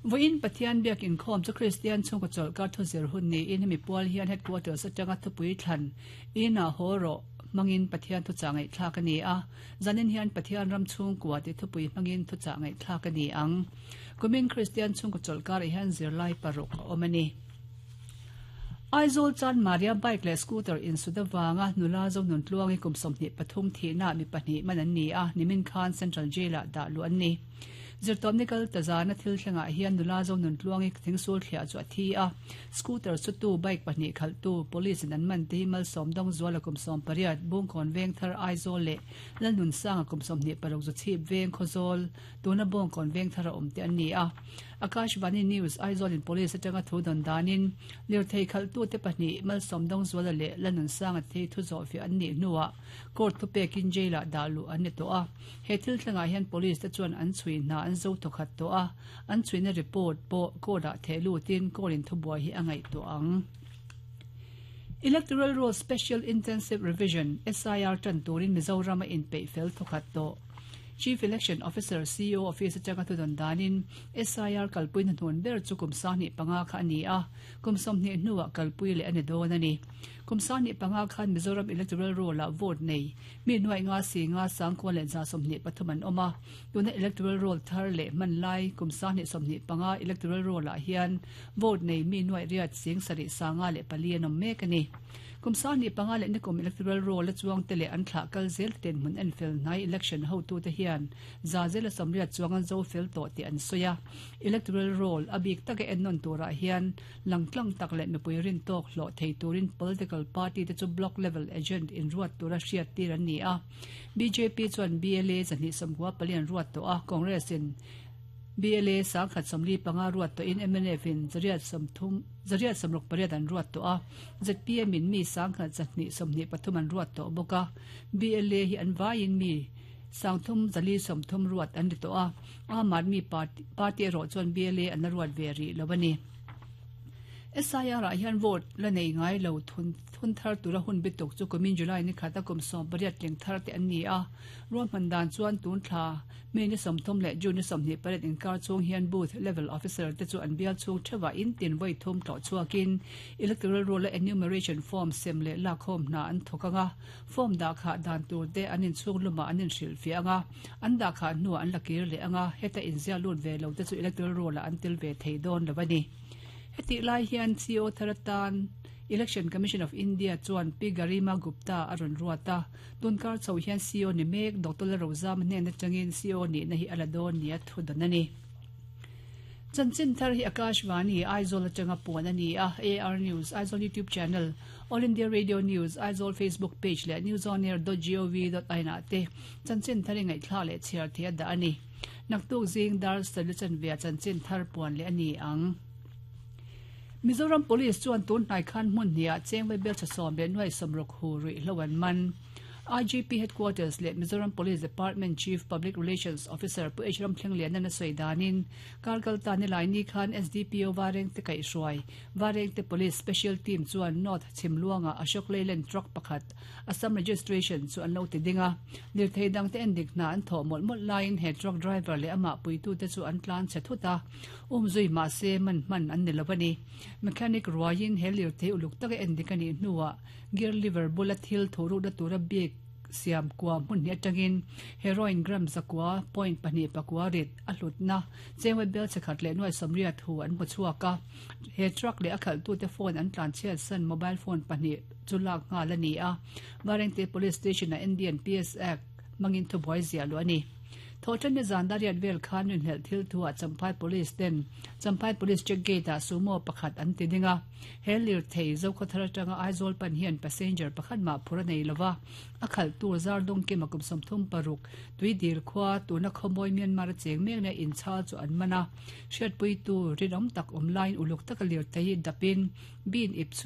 Vawiin Pathian biak inkhawm chu Kristian chhungkaw chawlhkar thuzir hun niin hemi pual hian Headquarters atanga thupui thlan Inah haw rawh hmangin Pathian thuchah ngaihthlak a ni a, zanin hian Pathian ram chhungkua tih thupui hmangin thuchah ngaihthlak a ni ang. Kumin Kristian chhungkaw chawlhkarah hian zirlai paruk a awm a ni. Aizawl chuan Maria bike leh scooter insut avanga nula Zonuntluangi kum 23 thihnaah mi pahnih man an ni a, nimin khan Central Jail-ah dah luh an ni. Zirtawpni kal ta zana thil thlengah hian nula Zonuntluangi thingsul thliah chu a thi a, scooter chutu bike pahnih khalhtu Police in an man te hi Malsawmdawng Zuala kum 18, Bungkawn Vengthar Aizawl leh Lalnunsanga kum 26 Zuchhip Veng Khawzawl tuna Bawngkawn Vengthar a awm te an ni a. Akashvani News, Aizawl in Police atanga thu dawn danin lirthei khalhtute pahnih Malsawmdawngzuala leh Lanunsanga te hi thu zawhfiah an nih hnuah court thupekin jail ah dah luh an ni tawh a. He thil thlengah hian Police te chuan an chhui hna an zo thawkhat tawh a, an chhuina report pawh court ah theh lutin court in thubuai hi a ngaihtuah ang. Electoral Roll Special Intensive Revision, SIR, tan turin Mizoram a inpeih fel thawkhat tawh. Chief Election Officer, CEO, Office atanga thudawn danin SIR kalpui hnahnun ber chu kum 25 kha a ni a, kum 20 hnuah kalpui leh a ni dawn a ni. Kum 25 khan Mizoram Electoral Roll-ah vote nei mi nuaih nga si nga sangkua leh 123 an awm a, tuna Electoral Roll thar leh hman lai kum 2025 Electoral Roll-ah hian vote nei mi nuaih riat sing sarih sanga leh pali an awm mek a ni. Kum 25 leh nikum Electoral Roll a chuang te leh an thlah kal zel te dinhmun en fel hnai election hotute hian za zela 80 chuang an zo fel tawh tih an sawi a. Electoral Roll a bik taka ennawn turah hian langtlang tak leh mipui rin tawk hlawh thei turin political party te chu block level agent inruat tura hriat tir an ni a. Bjp chuan BLA 294 an ruat tawh a, Congress in BLA 1045 ruat tawhin mnf in 130 168 an ruat tawh a, zpm in mi 1123 an ruat tawh bawk a, BLA hi an vaiin mi 3430 ruat an ni tawh a, Aam Aadmi Party erawh chuan BLA an la ruat ve rih lo a ni. SIR ah hian vote la nei ngai lo thun thun thar tura hun bituk chu kumin July ni khata kum 18 tling thar te an ni a, ruahman dan chuan tun thla May ni 30 leh June ni 28 inkar chhung hian Booth Level Officer te chu an bial chhung theuhah in tin vawi thum tlawh chhuakin Electoral Roll a Enumeration Form sem leh lakkhawm hna an thawk ang a, form dah khah dan tur te an inchhung lumah an inhrilhfiah ang a, an dah khah hnuah an la kir leh ang a, heta inziah lut ve lo te chu Electoral Roll ah an tel ve thei dawn lo a ni. Hetih lai hian CO thar atan Election Commission of India chuan Pi Garima Gupta a rawn ruat a, Tunkar chho hian CO ni mek Doctor Lalrozama hnen atangin CO nihna hi a la dawn nia thu dawn a ni. Chanchin thar hi Akashvani, Aizawl atanga puan a ni a, AR News, Aizawl YouTube channel, All India Radio News, Aizawl Facebook page leh newsonair.gov.in ah te chanchin thar i ngaihthlak leh chhiar theih a dah a ni. Naktuk zing dar sarih chanve ah chanchin thar puan leh a ni ang. Mizoram Police chuan tun hnai khan hmun hnih ah cheng vaibel tha sawm leh nuai sawmruk hu ruihhlo an man. IGP Headquarters leh Mizoram Police Department Chief Public Relations Officer Pu H Ramthlengliana sawi danin Karkal ta nilai ni khan SDPO Varengte kaihhruai Varengte Police Special Team chuan North Chhimluanga Ashok Leyland truck pakhat Assam registration chu an lo ti ding a. Lirthei dangte endik hna an thawh mawlh mawlh laiin he truck driver leh amah puitute chu an tlan chhe thut a, umzui mahse man hman an ni lo a ni. Mechanic ruaiin he lirthei uluk taka endik a nih hnuah Gear lever bula thil thuhrukna tura bik siam kua hmun hnih atangin heroin gram zakua point pahnih pakua rit a hlutna chengwe bel che khat leh nuai sawmriat hu an hmu chhuak a. He truck leh a khalhtute phone an tlanchhiat san mobile phone pahnih chu lak nghal a ni a. Varengte Police Station-ah Indian PS Act hmangin thubuai ziah luh a ni. Thawhṭan ni zan dariat vel khan rinhlelh thil thuah Champhai Police ten Champhai Police Check Gate-ah sumo pakhat an ti ding a. He lirthei Zokhawthar atanga Aizawl pan hian passenger pakhat mah phur a nei lova, a khalh tur zar dawngkim a kum 36 tui dil khua tuna khawmawi Myanmar a cheng mek nia inchhal chu an man a. Hriatpuitu rinawm tak awm laiin uluk taka lirthei hi dapin bin ip chu.